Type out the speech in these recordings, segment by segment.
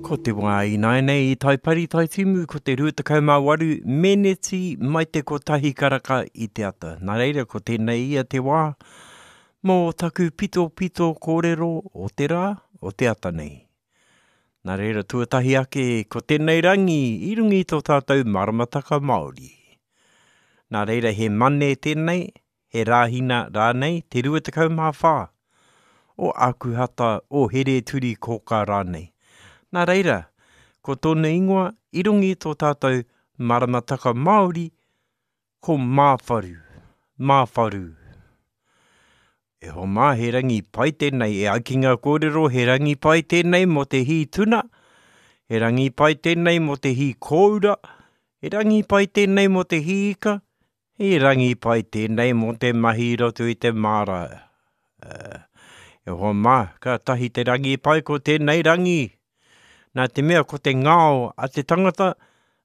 Ko te wā ināianei i Taipari Taitimu ko te 28 meneti mai te kotahi karaka i te ata. Nā reira ko tēnei ia te wā mō taku pitopito kōrero o te rā, o te ata nei. Nā reira tuatahi ake ko tēnei rangi i runga i tō tātou maramataka Māori. Nā reira he mane tēnei, he Rāhina rānei, te 24 o Ākuhata, o Here-turi-kōkā rānei. Nā reira, ko tōna ingoa i runga i tō tātou maramataka Māori, ko Māwharu, Māwharu. E hoa mā, he rangi pai tēnei, e ai ki ngā kōrero, he rangi pai tēnei mō te hī tuna, he rangi pai tēnei mō te hī kōura, he rangi pai tēnei mō te hī ika, He rangi pai tēnei mō te mahi i roto i te māra. E hoa mā, kātahi te rangi pai ko tēnei rangi. Nā te mea ko te ngao a te tangata,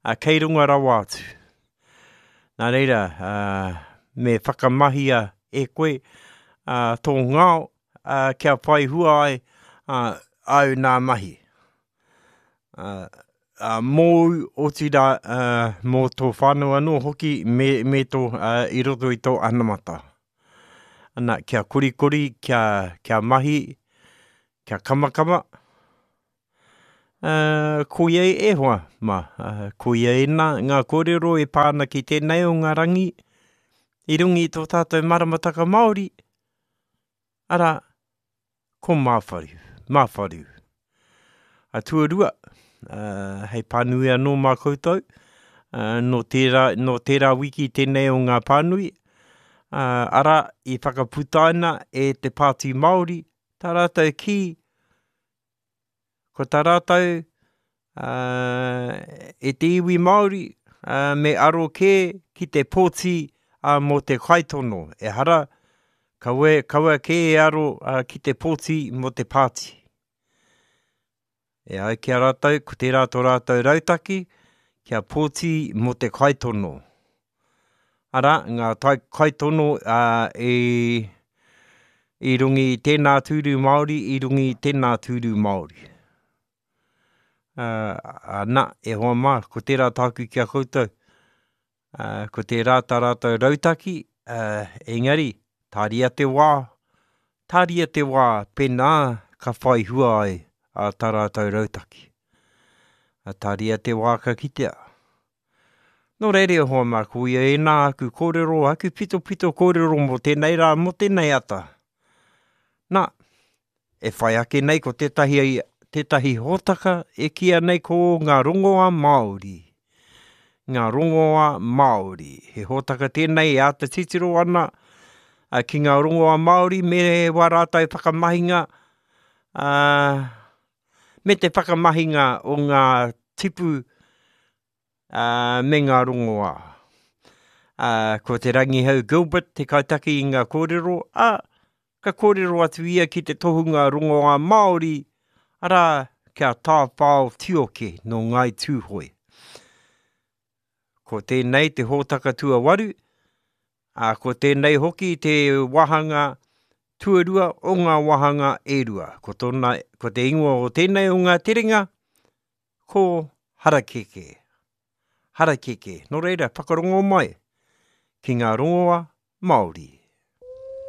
a kei runga rawa atu. Nā reira, me whakamahia e koe tō ngao kia whai hua ai āu nā mahi. Mōu, otirā, mō tō whānau anō hoki me, me tō, i roto i tō anamata. Ana, kia korikori, kia, kia mahi, kia kamakama. Uh, koia e hoa, ma, uh, koia ēnā ngā kōrero e pā ana ki tēnei o ngā rangi i runga i tō tātou maramataka Māori, arā, ko Māwharu, Māwharu. A tuarua, uh, hei pānui anō mā koutou, uh, nō tērā, nō tērā wiki tēnei o ngā pānui, uh, arā, i whakaputaina e te Pāti Māori, tā rātou kī, Ko tā rātou, e te iwi Māori, me aro kē ki te pōti mō te kaitono. Ehara, kaua, kaua kē e aro ki te pōti mō te pāti. E ai ki a rātou, ko tērā tō rātou rautaki, kia pōti mō te kaitono. Arā, ngā tai kaitono i, i runga i tēnā tūru Māori, i runga i tēnā tūru Māori. Uh, na, e hoa mā, ko tērā tāku ki a koutou, uh, ko tērā tā rātou rautaki, uh, engari, tāria te wā, tāria te wā, pēnā ka whai hua ai a tā rātou rautaki. Uh, tāria te wā ka kitea. Nō reira e hoa mā, ko ia ēnā aku kōrero, aku pitopito kōrero mō tēnei rā, mō tēnei ata. Nā, e whai ake nei ko tētahi, tētahi hōtaka e kīia nei ko ngā rongoā Māori. Ngā rongoā Māori. He hōtaka tēnei e āta titiro ana ki ngā rongoā Māori me wā rātou whakamahinga, ā, me te whakamahinga o ngā tipu ā, me ngā rongoā. Ā, ko Te Rangihau Gilbert te kaitaki i ngā kōrero, ā, ka kōrero atu ia ki te tohunga rongoā Māori, arā, ki a Tāwhao Tioke nō Ngāi Tūhoe. Ko tēnei te hōtaka tuawaru, ā, ko tēnei hoki te wāhanga tuarua o ngā wāhanga e rua. Ko tōna, ko te ingoa o tēnei o ngā terenga, ko Harakeke. Harakeke. Nō reira, whakarongo mai ki ngā rongoa Māori.